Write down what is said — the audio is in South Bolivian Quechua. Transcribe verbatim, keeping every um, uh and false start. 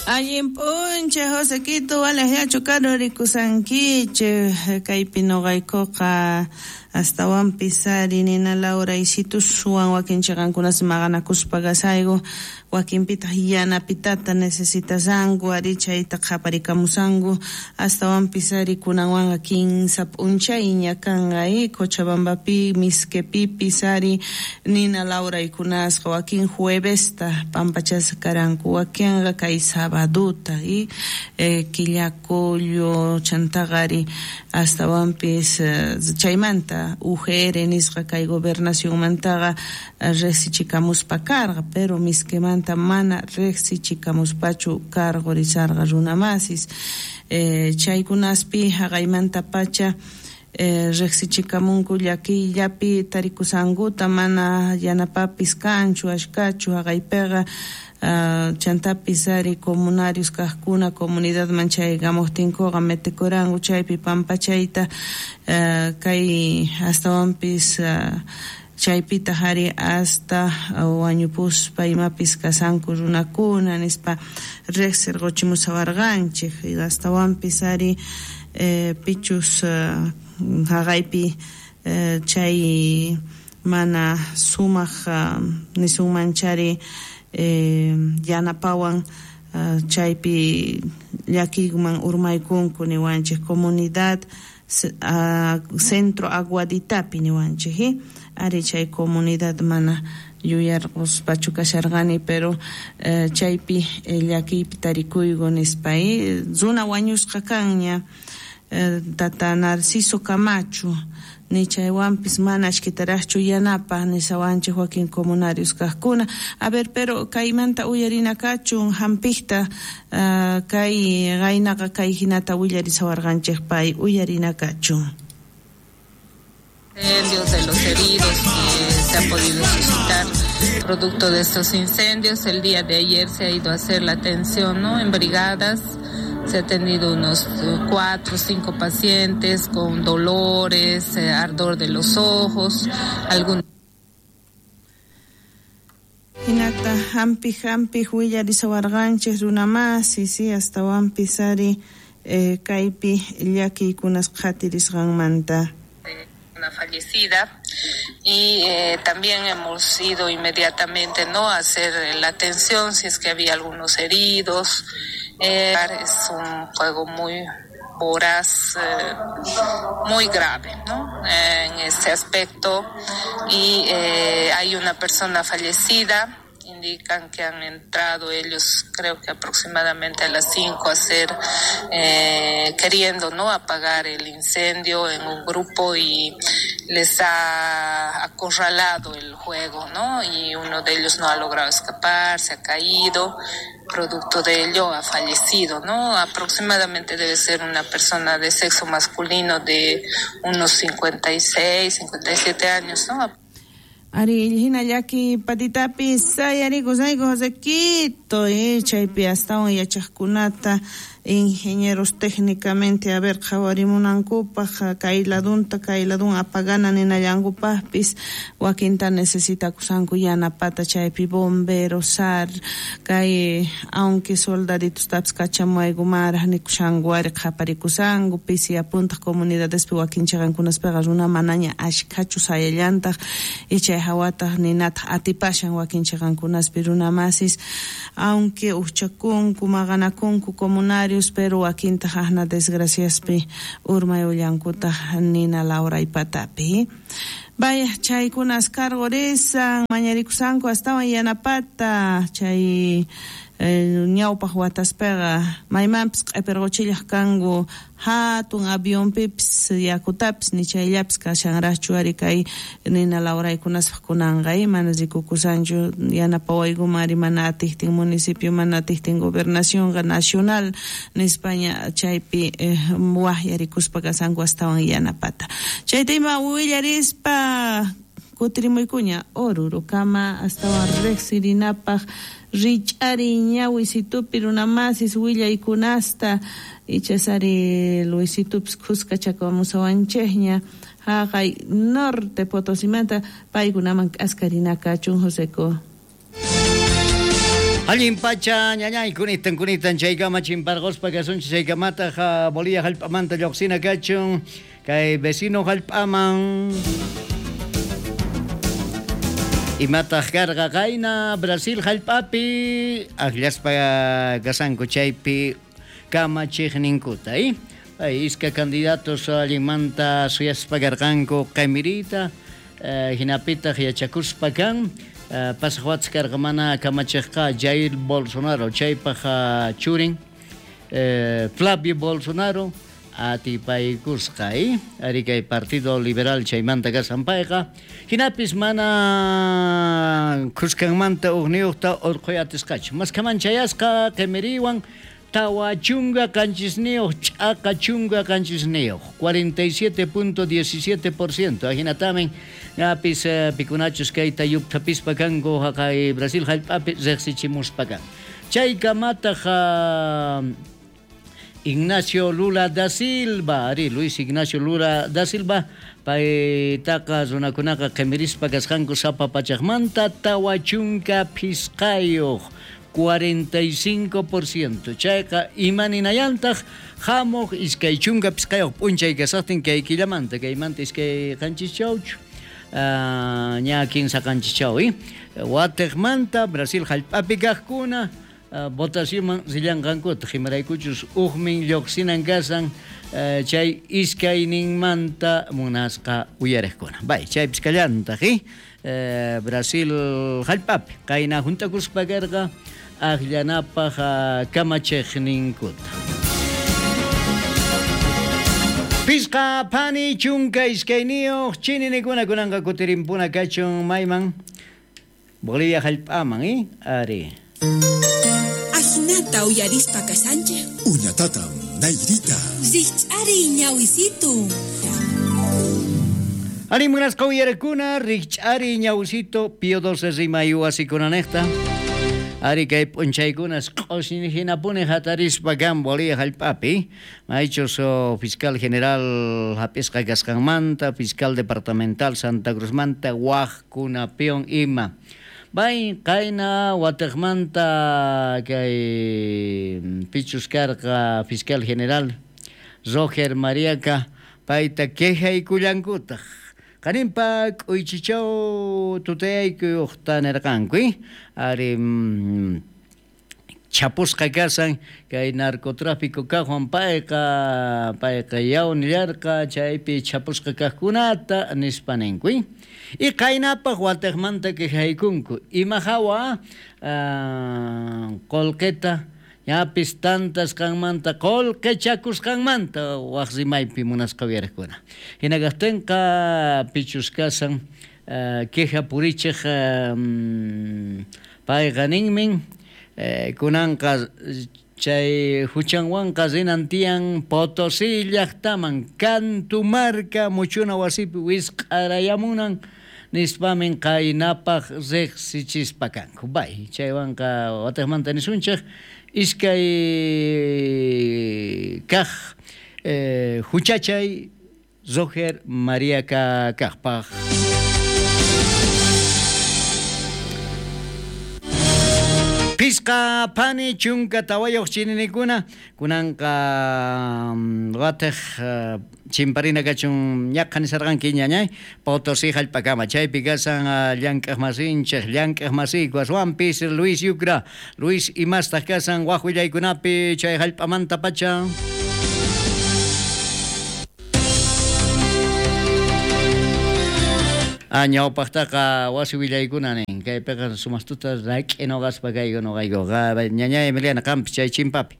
Allin p'unchay Josequito walaqllachu karurikusankichik kaypi nuqaykuqa astawanpis ari nina lawraysituswan wakin chiqankunas maqanakuspa kasayku wakinpitaq yanapitata necesitasanku ari chayta qhaparikamusanku astawanpis ari kunanwanqa kinsa p'unchayña kanqa Cochabambapi Misquepipis ari nina lawraykunasqa wakin juevesta pampachasqa karanku wakinqa kay sabaduta y eh, Quillacollo chantaqa ari astawanpis eh, chaymanta U G R nisqa kay gobernacionmantaqa riqsichikamuspa karqa pero Misquemanta mana riqsichikamuspachu karqurisarqa runamasis eh, chaykunaspi haqaymanta pacha eh, riqsichikamunku llakiyllapi tarikusankuta mana yanapapis kanchu ashkachu haqaypiqa Uh, chantapis ari comunarios kaqkuna comunidadman chaykamuqtinkuqa metikuranku chaypi pampachayta uh, kay astawanpis uh, chaypitaq ari hasta wañupuspa imapis kasanku runakuna nispa riqsirquchimusawarqanchik astawanpis ari eh, pichus uh, haqaypi eh, chay mana sumaq uh, nisunmanchari Eh, yanapawan uh, chaypi llakiyman urmaykunku niwanchik comunidad uh, centro Aguaditapi niwanchik eh? Ari chay comunidad mana yuyarquspachu kasharqani pero uh, chaypi eh, llakiypi tarikuyku nispa eh? Runa wañusqa kanña eh, tata Narciso Camacho ni chaywanpis mana ashkitaraqchu yanapa nisawanchik wakin comunarios kaqkuna. A ver, pero kaymanta uyarinakachun hampikta uh, kay qaynaqa kay hinata willarisawarqanchik pay uyarinakachun. Incendios de los heridos que se ha podido suscitar producto de estos incendios. El día de ayer se ha ido a hacer la atención, ¿no?, en brigadas. Se ha tenido unos cuatro o cinco pacientes con dolores, eh, ardor de los ojos, algún... Hinata hampi hampi willarisawarqanchik runamasi, sí, astawanpis ari eh, kaypi llakiykunas qhatirisqanmanta. Una fallecida y eh, también hemos ido inmediatamente, ¿no?, a hacer la atención si es que había algunos heridos. Eh, es un fuego muy voraz, eh, muy grave, ¿no?, eh, en ese aspecto y eh, hay una persona fallecida. Indican que han entrado ellos, creo que aproximadamente a las cinco, a hacer, eh, queriendo, ¿no?, apagar el incendio en un grupo y les ha acorralado el juego, ¿no?, y uno de ellos no ha logrado escapar, se ha caído, producto de ello ha fallecido, ¿no? Aproximadamente debe ser una persona de sexo masculino de unos cincuenta y seis, cincuenta y siete años, ¿no? Ari hina llaki patitapis sayarikusayku Josequito eh, chaypi astawan yachaqkunata ingenieros técnicamente a ver qhawarimunankupaq kay ladunta kay ladun apagana ninallankupaqpis wakinta necesitakusanku yanapata chaypi bomberos S A R kay aunque soldaditostapis kachamuaykumaraq nikushanku ari qhaparikusanku pisi apuntaq comunidadespi wakin chiqankunaspiqa runa manaña ashkhachu sayallantaq y chay hawataq ninataq atipashan wakin chiqankunaspi runamasis aunque uqchakunku maqanakunku comunarios pero wakintaq ahna desgraciaspi urmayullankutaq nina lawraypatapi. Vaya, chaykunas karqurisan mañarikusanku astawan yanapata chay eh, ñawpaq wataspiqa maymanpis q'ipirquchillaq kanku hatun avionpipis yakutapis ni chayllapis kashanraqchu ari kay nina lawraykunaspaq kunanqa mana rikukusanchu yanapawaykuman ari mana atiqtin municipio mana atiqtin gobernacionqa nacional nispaña chaypi eh, waqyarikuspa kasanku astawan yanapata. Chayta ima willarispa kutirimuykuña Orurukama astawan riqsirinapaq rich'ari ñawisitupi runamasis willaykunasta ichasari Luisitupis khuskachakamusawanchikña haqay norte Potosimanta paykunaman k'askarinakachun Joseco. Allin pacha ñañay kunitan kunitan chaykama chimparquspa kasunchik chaykamataq Bolivia hallp'amanta lluqsina kachun kay vecino hallp'aman imataq karqa qayna Brasil hallp'api akllaspa kasanku chaypi kamachiqninkuta eh ay iska candidatos allinmanta suyaspa karqanku qimirita hinapitaq yachakuspa kan pasaq watas karqa mana kamachiqqa Jair Bolsonaro chaypaq churin Flavio Bolsonaro atipaykusqa eh ari kay Partido Liberal chaymanta kasan payqa hinapis mana khuskanmanta uqniyuqta urquy atisqachu maskaman chayasqa qimiriwan tawa chunga qanchisniyuq ch'aqa chunga qanchisniyuq cuarenta y siete punto diecisiete por ciento ahinatamin ñapis pikunachus kayta yupthapispa kanku haqay Brasil hallp'api riqsichimuspa kan chaykamataq Ignacio Lula da Silva, ari Luis Ignacio Lula da Silva paytaqa runakunaqa qimirispa kasqanku sapa pachaqmanta tawa chunka phisqayuq cuarenta y cinco por ciento chayqa imaninayantaq hamuq iskay chunka phisqayuq p'unchay kasaqtin kay killamanta kaymanta iskay qanchischawchu ña kinsa qanchichaw watiqmanta Brasil hallp'api kaqkuna votacionman rillanqankutaq imaraykuchus uqmin lluqsinan kasan chay iskayninmanta munasqa uyariqkuna bay chaypis kallantaq Brasil hallp'api qayna juntakuspa karqa akllanapaq kamachiqninkuta Pisqa phani chunka iskayniyuq chininikuna kunanqa kutirimpuna kachun mayman Bolivia hallp'aman eh ari Ajinata uyarispa kasanchej Uñatatam nayrita Rikch'ari ñawisitu Ari munasqa uyarakuna rikch'ari ñawisitu Pío doce rimay wasikunanejta Ari kay p'unchaykunas q'ushñi hinapuni hatarispa kan Bolivia hallp'api maychus fiscal general hap'isqa kasqanmanta fiscal departamental Santa Cruzmanta waqkunapiwan ima Bay qayna watiqmanta kay pichus karqa fiscal general Roger Mariaca payta quejaykullankutaq qaninpa k'uychichaw tutayaykuqta nirqanku ari chapusqa kasan kay narcotráfico kaqwan payqa payqa yaw nillarqa chaypi chapusqa kaqkunata nispa ninku y qaynapaq watiqmanta quejaykunku ima hawa qullqita ñapis tantasqanmanta qullqichakusqanmanta waq rimaypi munasqa uyariqkuna hina kaqtinqa pichus kasan queja purichiq payqa ninmin kunanqa chay huchanwanqa rinan tiyan Potosí llaqtaman Cantumarca muchuna wasipi wisq'arayamunan nispamin qaynapaq riqsichispa kanku bay chaywanqa watiqmanta nisunchik iskay kaq huchachay Roger Mariaca kaqpaq Pisqa phani chunka tawayuq chininikuna kunanqa watiq chimparina kachun ñaqha nisarqanki ñañay Potosí hallp'akama chaypi kasan llank'aq masinchik llank'aq masiyku aswanpis Luis Yucra Luis imastaq kasan waq willaykunapi chay hallp'amanta pacha ñawpaqtaqa wasi willaykuna nin kaypiqa sumastuta rak'i nuqaspa kayku nuqaykuqa ñañay Emiliana qampis chay chimpapi.